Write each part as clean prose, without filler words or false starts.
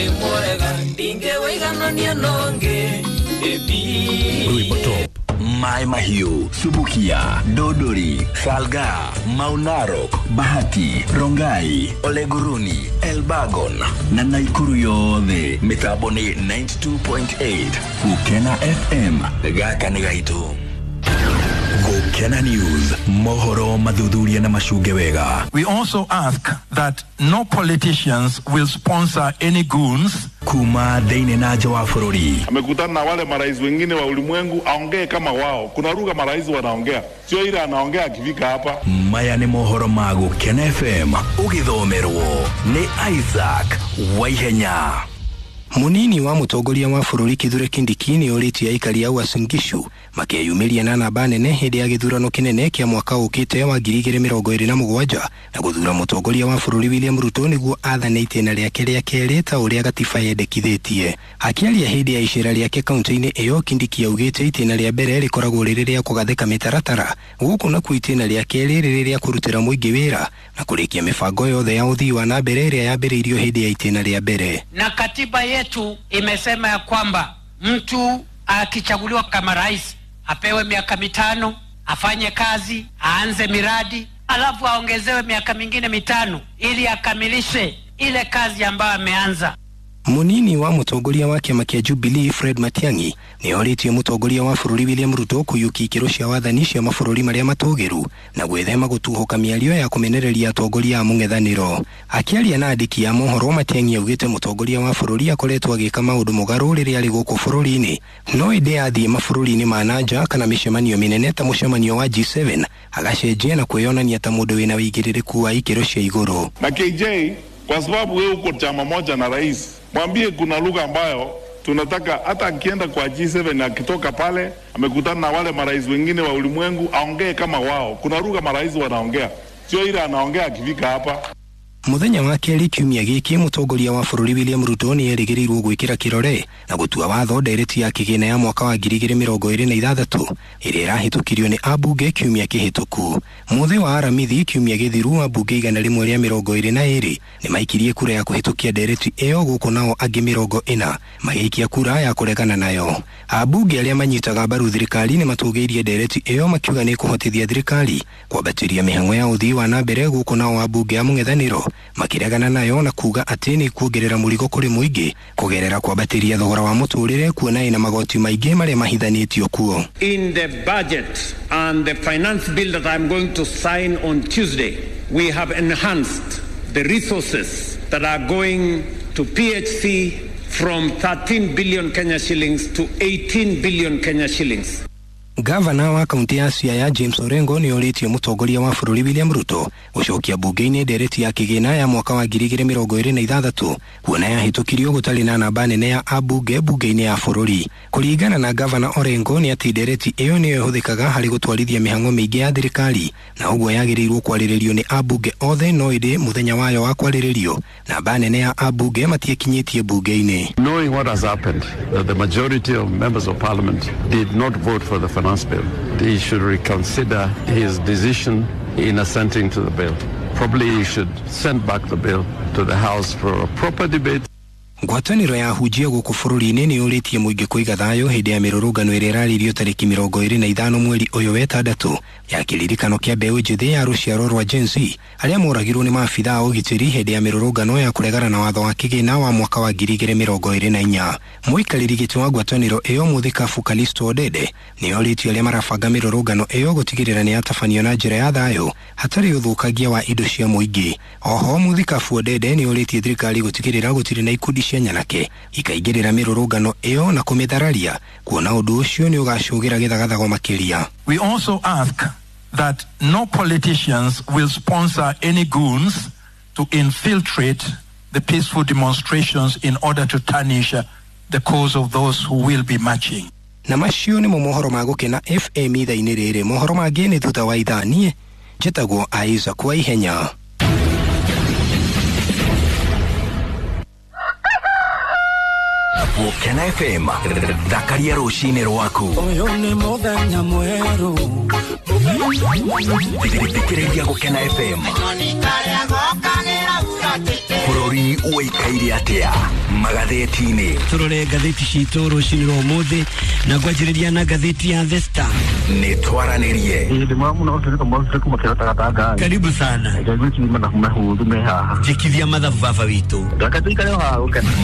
Mwega ndingĩwĩiganania nongi. Rwĩmbo top Mai Mahiu, Subukia, Dodori, Salga, Maunarok, Bahati, Rongai, Oleguruni, Elbagon na Naikuru yothe. Mitambo ni 92.8 Gukena FM. Gaka nĩ gaitũ. Gukena News, mohoro mathuthuria na macunge wega. We also ask that no politicians will sponsor any goons kuma thĩinĩ na nja wa bũrũri. Amekutana na wale marais wengine wa ulimwengu, aongee kama wao. Kuna lugha marais wanaongea, sio ile anaongea akifika hapa. Maya nĩ mohoro ma Gukena FM ũgĩthomerwo nĩ Isaac Waihenya. Munini wa mutongoria wa bũrũri Kithure Kindiki nĩ orĩtie aikari a Uasin Gishu makeyumĩria na namba nene hĩndĩ ya gĩthurano kĩnene kĩa mwaka ũkĩte wa 2027 na gũthura mũtongoria wa bũrũri William Ruto nĩguo athane itĩna rĩake rĩa kerĩ ta ũrĩa gatiba yendekithĩtie. Akĩaria hĩndĩ ya icera rĩake kaunti-inĩ ĩyo, Kindiki augĩte itĩna rĩa mbere rĩkoragwo rĩrĩ rĩa kũgathĩka mĩtaratara gũkũ nakuo itĩna rĩa kerĩ rĩrĩ rĩa kũrutĩra mũingĩ wĩra na kũrĩkia mĩbango yothe ya ũthii wa na mbere ĩrĩa yambĩrĩirio hĩndĩ ya itĩna rĩa mbere. Na katiba yetu imesema ya kwamba mtu akichaguliwa kama rais apewe miaka 5, afanye kazi, aanze miradi, alafu aongezewe miaka mingine 5 ili akamilishe ile kazi ambayo ameanza. Munini wa mutongoria wa kĩama kĩa Jubilee Fred Matiang'i nĩ orĩtie mũtongoria wa bũrũri William Ruto kũiyũkia ikĩro cia wathani cia mabũrũri marĩa matũgĩru na gwĩthema gũtuhũka mĩario ya kũmenereria atongoria a mũng'ethanĩro. Akĩaria na andĩki a mohoro, Matiang'i augĩte mũtongoria wa bũrũri akoretwo agĩka maũndũ mũgarũ rĩrĩa arĩ gũkũ bũrũri-inĩ, no ĩndĩ athiĩ mabũrũri-inĩ ma na nja kana mĩcemanio mĩnene ta mũcemanio wa G7 agacenjia na kwĩyonania ta mũndũ wĩna wĩigĩrĩrĩku wa ikĩro cia igũrũ. Na KJ, kwa sababu wewe uko chama moja na rais, mwambie kuna lugha ambayo tunataka hata akienda kwa G7 akitoka pale amekutana na wale marais wengine wa ulimwengu, aongee kama wao. Kuna lugha marais wanaongea, sio ile anaongea akifika hapa. Muthenya wa kerĩ kiumia gĩkĩ, mũtongoria wa bũrũri William Ruto nĩ erĩgĩrĩirwo gwĩkĩra kĩrore na gũtua watho ndereti ya kĩgĩna ya mwaka wa 2026 ĩrĩa ĩrahĩtũkirio nĩ ambunge kiumia kĩhĩtũku. Mũthĩ wa Aramithi kiumia gĩthiru, ambunge 122 nĩ maikirie kura ya kũhĩtũkia ndereti ĩyo, gũkũ nao angĩ 40 magĩikia kura ya kũregana nayo. Ambunge arĩa manyitaga mbaru thirikari nĩ matũgĩirie ndereti ĩyo makiuga nĩ kũhotithia thirikari kwambatĩria mĩhang'o ya ũthii wa na mbere, gũkũ nao ambunge a mũng'ethanĩro makiregana nayo na kuga atĩ nĩ kuongerera mũrigo kũrĩ mũingĩ kũgerera kwambatĩria thogora wa mũtũrĩre, kuona ĩna magoti maingĩ marĩa mahithanĩtio kuo. In the budget and the finance bill that I'm going to sign on Tuesday, we have enhanced the resources that are going to PHC from 13 billion Kenya shillings to 18 billion Kenya shillings. Gavana wa kaunti ya Siaya James Orengo nĩ orĩtie mũtongoria wa bũrũri William Ruto gũcokia bunge-inĩ ndereti ya kĩgĩna ya mwaka wa 2026 kuona yahĩtũkirio gũtarĩ na namba nene ya ambunge bunge-inĩ ya bũrũri. Kũringana na Gavana Orengo nĩ atĩ ndereti ĩyo nĩyo ĩhũthĩkaga harĩ gũtwarithia mĩhang'o mĩingĩ ya thirikari na ũguo yagĩrĩirwo kwarĩrĩrio nĩ ambunge othe, no ĩndĩ mũthenya wayo wa kwarĩrĩrio namba nene ya ambunge matiĩkinyĩtie bunge-inĩ. Knowing what has happened, that the majority of members of parliament did not vote for the finance bill, he should reconsider his decision in assenting to the bill. Probably he should send back the bill to the House for a proper debate. Ngwatanĩro ya hunjia gũkũ bũrũri-inĩ nĩ yũrĩtie mũingĩ kũiga thayũ hĩndĩ ya mĩrũrũngano ĩrĩa ĩrarĩrio tarĩki 25 mweri ũyũ wetandatũ ya kĩririkano kĩa mbeũ njĩthĩ ya rũciaro rwa Gen Z arĩa moragirwo nĩ maabithaa a ũgitĩri hĩndĩ ya mĩrũrũngano ya kũregana na watho wa kĩgĩna wa mwaka wa 2024. Mũikarĩri gĩtĩ wa ngwatanĩro ĩyo Mũthikabu Kalisto Odede nĩ orĩtie arĩa marabanga mĩrũrũngano ĩyo gũtigĩrĩra nĩ yatabanio na njĩra ya thayũ hatarĩ ũthũkangia wa indo cia mũingĩ. Oho Mũthikabu Odede nĩ orĩtie thirikari gũtigĩrĩra gũtirĩ na ikundi cia nyanake ikaingĩrĩra mĩrũrũngano ĩyo na kũmĩthararia, kuona ũndũ ũcio nĩ ũgacũgĩra gĩthagathago makĩria. We also ask that no politicians will sponsor any goons to infiltrate the peaceful demonstrations in order to tarnish the cause of those who will be marching. Na macio nĩmo mohoro ma Gũkena FM ithaa-inĩ rĩrĩ. Mohoro mangĩ nĩ thutha wa ithaa. Niĩ njĩtagwo Isaac Waihenya. Gũkena FM, thakaria rũcinĩ rwaku. Ũyũ nĩ mũthenya mwerũ. Thikĩrĩria Gũkena FM bũrũri Bũrũri ũikaire atĩa magathĩti-inĩ? Turore ngathĩti citũ rũcinĩ rwa ũmũthĩ na ngwanjĩrĩria na ngathĩti ya The Star. Nĩ twaranĩrie. Karibu sana. Njĩkithia mathabu baba witũ.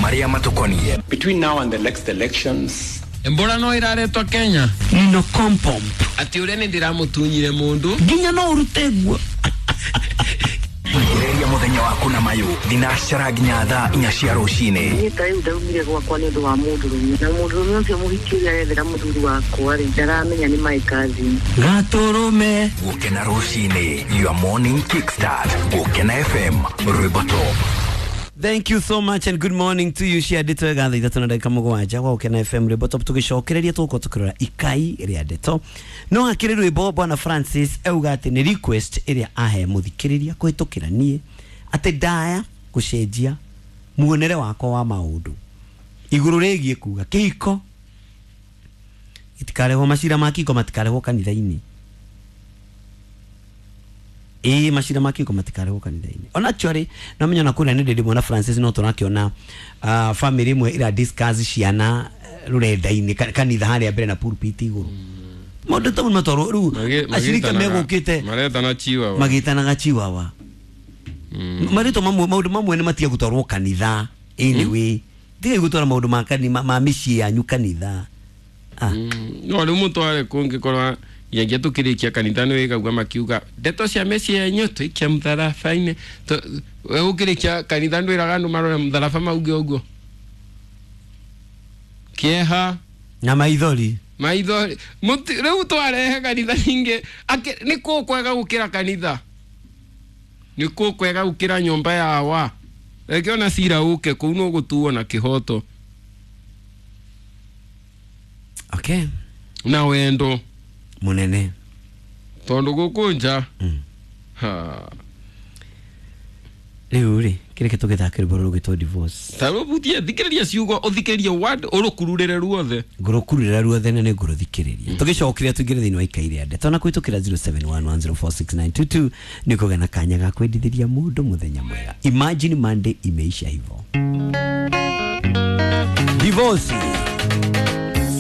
Marĩa matũkoniĩ. Between now and the next elections, Mbura no iraretwo Kenya. Nino kompomp. Ati uria ni ndiramutunyire mundu. Nginya no urute guo. Ongereria muthenya waku na mayu thinacara nginya thaa 4 cia rucini. Niĩ ta rĩu ndaumire gwakwa nĩ ũndũ wa mũndũrũme, na mũndũrũme ũcio mũhiki ũrĩa arethera mũthuri wakwa rĩ, ndaramenya nĩ my cousin. Gatũrũme. Gũkena rucini, your morning kickstart. Gũkena FM, rwĩmbo top. Thank you so much and good morning to you. Cia ndeto ega thaa 3:07 gwa Gũkena FM rwĩmbo top, tũgĩcokereria tũgũkorwo tũkĩrora ikai rĩa ndeto. No hakĩrĩ rwĩmbo bwana Francis auga atĩ nĩ request ĩrĩa ahe mũthikĩrĩria kũhĩtũkĩra niĩ atĩ ndaya gũcenjia muonere wakwa wa maũndũ igũrũ rĩgiĩ kuga kĩhiko gĩtikarehwo, macira ma kĩhiko matikarehwo kanitha-inĩ. Ĩĩ, macira ma kĩhiko matikarehwo kanitha-inĩ. Ona actually no menya na kũrĩa nĩ ndĩ mwana Francis no tũrakĩona family imwe ira discuss ciana rũrenda-inĩ kanitha harĩa mbere na pulpit igũrũ. Maũndũ ta matwarwo rĩu acirika megũkĩte maretana chiwawa, magĩtanaga chiwawa. Marĩtwa mamwe, maũndũ mamwe nĩ matiga gũtwarwo kanitha anyway. Tiga gũtwara maũndũ ma kanitha ma mĩciĩ yanyu kanitha. No rĩu mũtware kũngĩkorwo nginyagia tukirikia kanitha nĩ wĩkaguo makiuga ndeto cia mĩciĩ yenyu tũikie mũtharaba-inĩ. We ũkĩrĩkia kanitha ndwĩraga andũ marore mũtharaba mauge ũguo kĩeha na maithori maithori. Rĩu twarehe kanitha ningĩ nĩ kũ kwega gũkĩra kanitha, nĩ kũ kwega gũkĩra nyũmba ya wa reke ona cira ũke kũu no gũtuo na kĩhoto. Okay, na wendo munene tondu gũkũ nja. Ha rĩu rĩ kĩrĩke tũgĩthake rwĩmbo rũgĩtwo divorce. Ta rũbutie thikĩrĩria ciugo ũthikĩrĩrie word ũrũkururĩre ruothe. Ngũrũkururĩra ruothe na nĩ ngũrũthikĩrĩria. Tũgĩcokeria tũingĩre thĩinĩ wa ikai rĩa ndeto na kũhĩtũkĩra 0711046922 nĩ kũgĩa na kanya ga kwendithĩria mũndũ mũthenya mwega. Imagine Monday imeisha hivyo. Divorce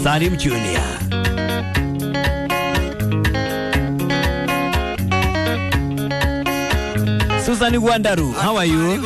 Salim Junior. Susan Gwandaru, how are you?